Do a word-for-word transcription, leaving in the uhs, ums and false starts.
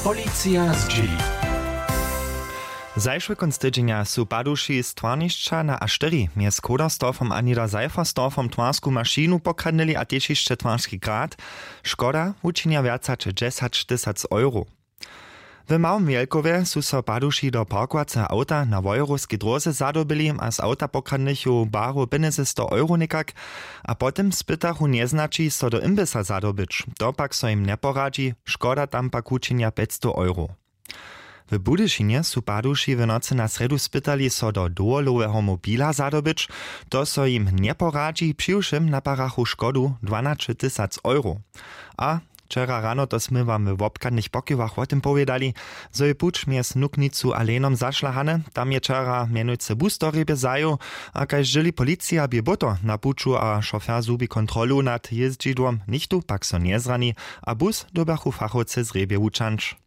Policija zdźěli. Zašły kónc tydźenja su paduši z twarnišća na a štyri mjez koderstorfom a niederseiferstorfom twarsku mašinu pokradnyli a tež hišće twarski grad. Škoda wučinja wjac hač dźesać tysac euro. W małym wjelkowje su so paduši do parkowaceho awta na wojerowskej dróze zadobyli a z awta pokradnychu baru pjenjezysto euro někak. A potom spytachu njeznaći so do imbisa zadobyć, to pak so jim njeporadźi. Škoda tam pak wučinja pjećstow euro. W budyšinje su paduši w nocy na srjedu spytali so do dowoloweho mobila zadobyć. To so jim njeporadźi, přiwšěm naparachu škodu dwanaće tysac euro. A wčera rano to smy wam w wobchadnych pokiwach wo tym powědali, zo je puć mjez nuknicu a lenom zašla hany. Tam je wčera mjenujcy bus do hrjebje zajěł. A kaž dźěli policija bě bóto na puću a šofer zhubi kontrolu nad jězdźidłom, nichtó pak so njezrani. A bus dyrbjachu fachowcy z hrjebje wučanć.